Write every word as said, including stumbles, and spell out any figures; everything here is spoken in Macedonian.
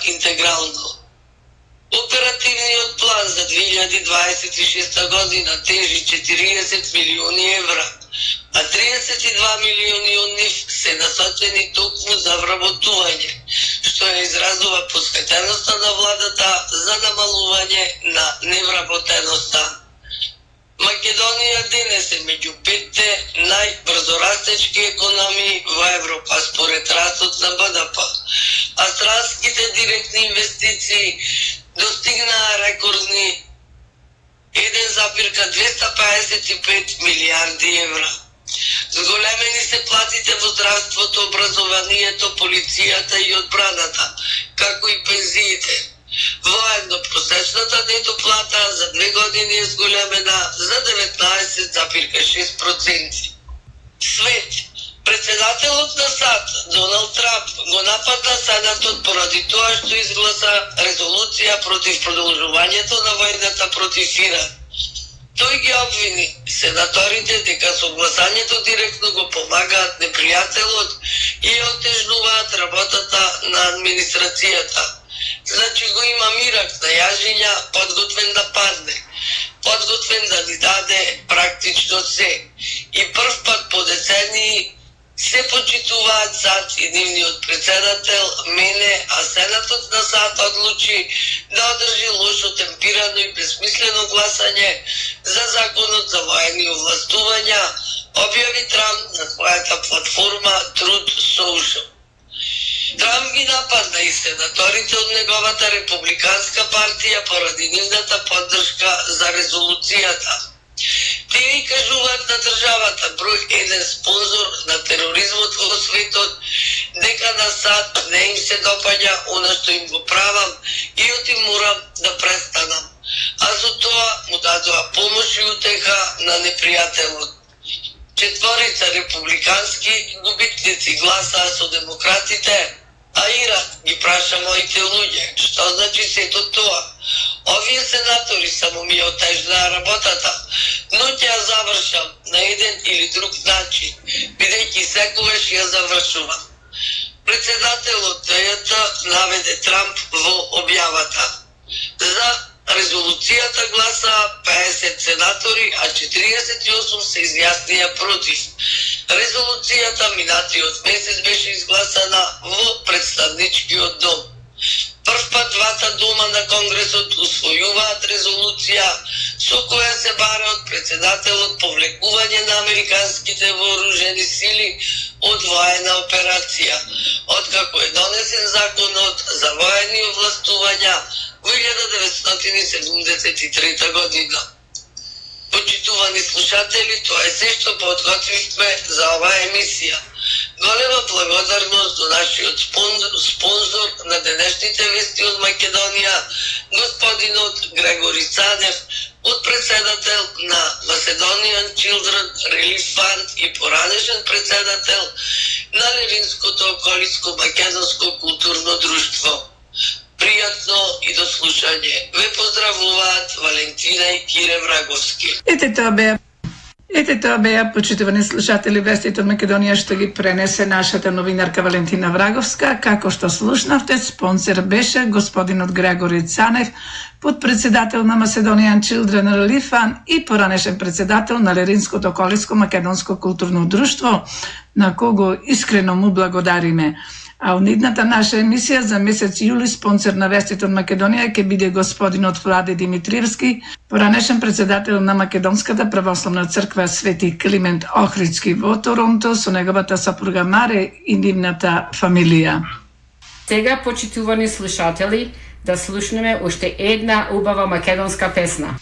интегрално. Оперативниот план за две илјади дваесет и шеста година тежи четириесет милиони евра, а триесет и два милиони од нив се насочени токму за вработување, што ја изразува посветеноста на владата за намалување на невработеноста. Македонија денес е меѓу петте најбрзорастечки економии во Европа според растот на Б Д П, а странските директни инвестиции достигнаа рекордни еден запирка двеста пеесет и пет милиарди евра. Зголемени се платите во здравството, образованието, полицијата и одбраната, како и пензиите. Воедно просечната нето плата за две години е зголемена за деветнаесет запирка шест проценти. Свет. Председателот на САД, Доналд Трамп, го нападна Сенатот поради тоа што изгласа резолуција против продолжувањето на војната против Иран. Тој ги обвини сенаторите дека со гласањето директно го помагаат непријателот и отежнуваат работата на администрацијата. Значи го има мирак на јажиња, подготвен да падне, подготвен да ни даде практично се. И прв пат по децении се почитуваат САД и нивниот председател мене, а Сенатот на САД одлучи да одржи лошо темпирано и безсмислено гласање за законот за воени овластувања, објави Трамп на својата платформа Truth Social. Трамп ги нападна и сенаторите од неговата републиканска партија поради нивната поддршка за резолуцијата. Тие и кажуваат на државата, број еден спонзор на тероризмот во светот, дека на САД не им се допаѓа она што им го правам и оти морам да престанам. А за тоа му дадоа помош и утеха на непријателот. Четворица републикански губитници гласаа со демократите, а Иран ги праша моите луѓе. Што значи сето тоа? Овие сенатори само ми отежнаа работата, но ќе ја завршам на еден или друг начин, бидејќи секогаш ја завршувам. Председателот Д Ј Т наведе Трамп во објавата. За резолуцијата гласаа пеесет сенатори, а четириесет и осум се изјаснија против. Резолуцијата минатиот месец беше изгласана во представничкиот дом. Прв пат двата дома на Конгресот усвојуваат резолуција со која се бара од председателот повлекување на американските вооружени сили од воена операција, откако е донесен законот за воени овластувања во илјада деветстотини и седумдесет и трета година. Почитувани слушатели, тоа е се што подготвивме за оваа емисија. Голема благодарност до нашиот спонзор на денешните вести од Македонија, господинот Грегори Цанев, подпредседател на Macedonian Children Relief Fund и поранешен председател на Левинското околиско македонско културно друштво. Пријатно и до слушање. Ве поздравуваат Валентина и Кире Враговски. Ете тоа беа. Ете тоа беа, почитувани слушатели, вестите од Македонија што ги пренесе нашата новинарка Валентина Враговска. Како што слушнавте, спонсор беше господинот Грегори Цанев, подпредседател на Macedonian Children Relief Fund и поранешен председател на Леринското околиско македонско културно друштво, на кого искрено му благодариме. А од идната наша емисија за месец јули спонсор на вестите од Македонија ќе биде господинот Владе Димитриевски, поранешен председател на Македонската православна црква Свети Климент Охридски во Торонто со неговата сопруга Маре и нивната фамилија. Сега, почитувани слушатели, да слушнеме уште една убава македонска песна.